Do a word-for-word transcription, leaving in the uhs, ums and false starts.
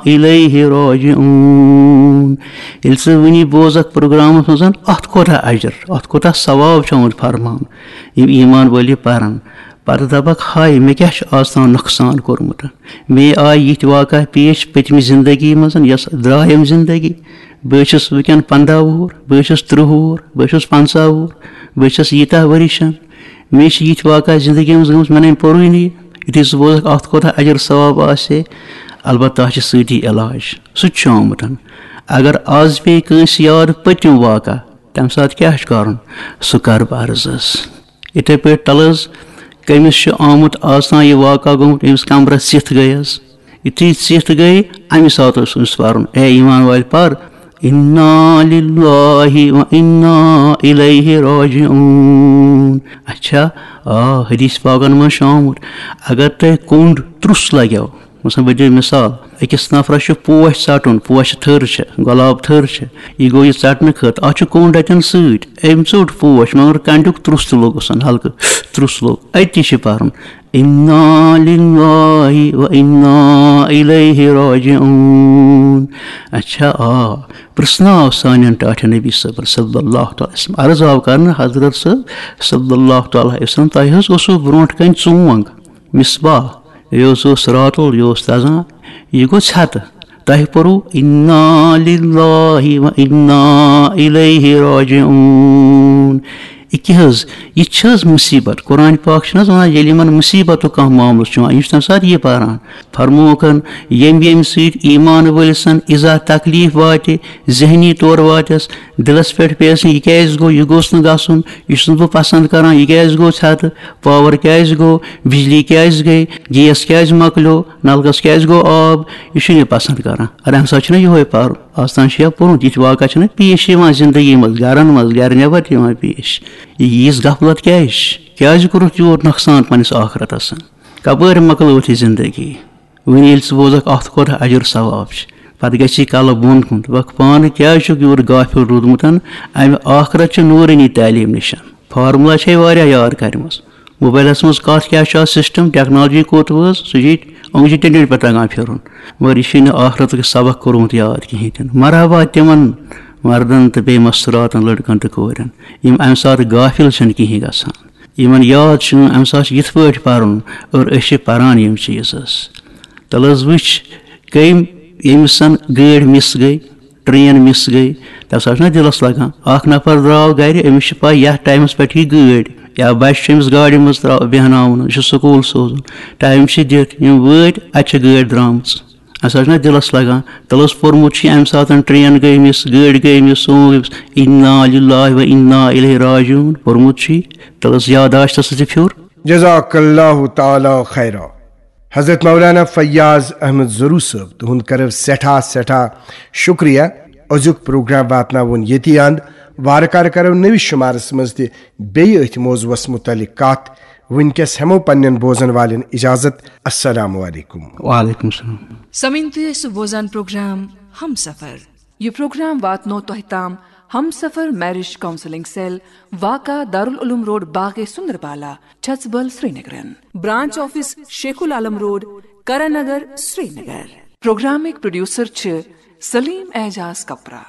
الیہ راجعون۔ ییٚلہِ ژٕ وٕنی بوزکھ پروگرامس منٛز، اتھ کوتاہ اجر، اتھ کوتاہ ثواب چھُ آمُت فرماونہٕ، یِم ایمان وٲلۍ یہِ پرن۔ پتہٕ دپکھ، ہاے، مےٚ کیٛاہ چھُ آز تام نۄقصان کوٚرمُت؟ مےٚ آے یِتھۍ واقعہ پیش پٔتمہِ زندگی منٛز، یۄس درٛایَم زندگی۔ بہٕ چھُس وٕنکٮ۪ن پنٛداہ وُہُر، بہٕ چھُس تٕرٛہ وُہُر، بہٕ چھُس پنٛژاہ وُہُر، بہٕ چھُس ییٖتاہ ؤرِشَن۔ مےٚ چھِ یِتھۍ واقعہ زندگی منٛز گٔمٕتۍ، مےٚ نَے پوٚرُے نہٕ یہِ۔ یُتھُے ژٕ بوزکھ، اَتھ کوتاہ اجر ثواب آسہِ ہے، البتہ اَتھ چھِ سۭتی علاج۔ سُہ تہِ چھُ آمُت۔ اگر آز پیٚیہِ کٲنٛسہِ یاد پٔتِم واقعہ، تَمہِ ساتہٕ کیٛاہ چھُ کَرُن؟ سُہ کَر بہٕ عرض حظ۔ یِتھَے پٲٹھۍ تَلہٕ حظ، کٔمِس چھُ آمُت آز تام یہِ واقعہ گوٚمُت، أمِس کَمرَس ژِتھ گٔے حظ۔ یُتھُے ژِتھ گٔے، اَمہِ ساتہٕ اوس أمِس پَرُن، اے ایمان وٲلۍ، پَر، انا للہ و انا الیہ راجعون۔ اچھا، آ، حدیث پاکن منٛز چھُ آمُت، اگر تۄہہِ کوٚنٛڈ ترُس لگیو، مثلاً، بہٕ دِمہٕ مثال، أکِس نفرس چھُ پوش ژٹُن، پوشہِ تھٔر چھِ، گۄلاب تھٔر چھِ، یہِ گوٚو یہِ ژٹنہٕ خٲطرٕ، اتھ چھُ کوٚنٛڈ اتٮ۪ن سۭتۍ، أمۍ ژوٚٹ پوش، مگر کنڈیُک ترُس تہِ لوٚگُس، ہلکہٕ ترُس لوٚگ، أتی چھِ پرُن، انا للہ و انا الیہ راجعون۔ اچھا، آ، پرٛژھناو سانٮ۪ن ٹاٹھٮ۪ن نبی صٲبن صلی اللہ تعالیٰ علیہ وسلم۔ عرض آو کرنہٕ، حضرت صٲب صلی اللہ تعالیٰ علیہ وسلم، تۄہہِ حظ اوسوٕ برونٛٹھ کنہِ ژونٛگ، مصباح، یہِ اوس، اوس راتُل، یہِ اوس دَزان، یہِ گوٚو ژھٮ۪تہٕ۔ تۄہہِ پوٚرُو، انا للہ و انا الیہ راجعون۔ یہِ کیٛاہ حظ؟ یہِ چھِ حظ مُصیٖبت؟ قرآن پاک چھُنہٕ حظ وَنان، ییٚلہِ یِمَن مُصیٖبتُک کانٛہہ معاملہٕ چھُ یِوان، یہِ چھُ تَمہِ ساتہٕ یہِ پَران۔ فرمووُکھ، ییٚمہِ، ییٚمہِ سۭتۍ ایمان وٲلۍ سٕنٛد اِزا تکلیٖف واتہِ، ذہنی طور واتٮ۪س، دِلَس پٮ۪ٹھ پیٚیَس نہٕ، یہِ کیٛازِ گوٚو، یہِ گوٚژھ نہٕ گژھُن، یہِ چھُس نہٕ بہٕ پَسنٛد کَران، یہِ کیٛازِ گوٚو ژھٮ۪تہٕ، پاور کیٛازِ گوٚو، بجلی کیٛازِ گٔے، گیس کیٛازِ مۄکلیو، نلکس کیٛازِ گوٚو آب، یہِ چھُنہٕ یہِ پسند کران۔ اَدٕ اَمہِ ساتہٕ چھُنہ یِہوے پَرُن۔ آز تام چھُ یا پوٚرمُت، یِتھۍ واقعہ چھِنہ پیش یِوان زندگی منٛز، گرن منٛز، گرِ نٮ۪بر تہِ یِوان پیش۔ یہِ ییٖژ غفلت کیٛازِ چھِ؟ کیٛازِ کوٚرُتھ یوٗت نۄقصان پننِس ٲخرتس؟ کپٲرۍ مۄکلٲوٕتھ یہِ زندگی؟ وۄنۍ ییٚلہِ ژٕ بوزکھ، اَتھ کوتاہ اجر ثواب چھِ، پتہٕ گژھِ یہِ کلہٕ بۄن کُن۔ دپکھ، پانہٕ کیٛازِ چھُکھ یوٗت غافل روٗدمُت؟ اَمہِ ٲخرت چھِ نوٗرٲنی تعلیٖم نِشن۔ فارمولا چھے واریاہ یاد کرِمٕژ۔ موبایلس منٛز کتھ کیٛاہ چھُ آز سسٹم، ٹیکنالوجی کوٚت وٲژ، سُہ چھُ ییٚتہِ أنٛگجہِ ٹِنٛڈِن پٮ۪ٹھ تگان پھِرُن۔ مگر یہِ چھُے نہٕ ٲخرتُک سبق کوٚرمُت یاد کِہیٖنۍ تہِ نہٕ۔ مرحبا تِمن مردن تہٕ بیٚیہِ مستوٗراتن، لڑکن تہٕ کورٮ۪ن، یِم امہِ ساتہٕ غافل چھِنہٕ کِہیٖنۍ گژھان۔ یِمن یاد چھُ امہِ ساتہٕ چھُ یِتھ پٲٹھۍ پرُن، اور أسۍ چھِ پران یِم چیٖز حظ۔ تَلہٕ حظ وٕچھ، کٔمۍ، ییٚمِس زن گٲڑۍ مِس گٔے، ٹرین مِس گٔے، تَمہِ ساتہٕ چھُنہ دِلَس لَگان۔ اَکھ نفر درٛاو گَرِ، أمِس چھِ پَے یَتھ ٹایمَس پٮ۪ٹھ یی گٲڑۍ، یا بَچہِ چھُ أمِس گاڑِ منٛز ترٛاو-، بیٚہناوُن، یہِ چھُ سکوٗل سوزُن، ٹایم چھِ دِتھ، یِم وٲتۍ، اَتہِ چھِ گٲڑۍ درٛامٕژ۔ اَمہِ ساتہٕ چھُنہ دِلَس لَگان۔ تَلہٕ حظ پوٚرمُت چھُ اَمہِ ساتہٕ ٹرین گٔے مِس، گٲڑۍ گٔے مِس، سون گٔے مِس، اِنا لِلّٰہِ و اِنا اِلیہِ راجعوٗن، پوٚرمُت چھُ یہِ، تَلہٕ حظ یادداشتَس تہِ پھیوٚر۔ جزاک اللہ تعالیٰ خیرا۔ حضرت مولانا فیاض احمد زرو صٲب، تُہُنٛد کرو سٮ۪ٹھاہ، سٮ۪ٹھاہ شُکریہ۔ أزیُک پروگرام واتناوُن ییٚتی اند۔ وارٕ کارٕ کرو نٔوِس شُمارس منٛز تہِ بیٚیہِ أتھۍ موضوعس مُتعلق کتھ۔ وٕنکیٚس ہٮ۪مو پننٮ۪ن بوزن والٮ۪ن اجازت۔ السلام علیکم۔ وعلیکم السلام۔ سمعین، تُہۍ ٲسِو بوزان پروگرام ہمسفر۔ یہِ پروگرام واتنو تۄہہِ تام ہمسفر میرج کونسلنگ سیل، واقع دارالعلوم روڈ، باغے سندربالا، چھژبل، سرینگرن۔ Branch office Sheikh ul Alam road, Karan Nagar, Srinagar. پروگرامٕکۍ پروڈیوسر چھِ سلیم اعجاز کپرا۔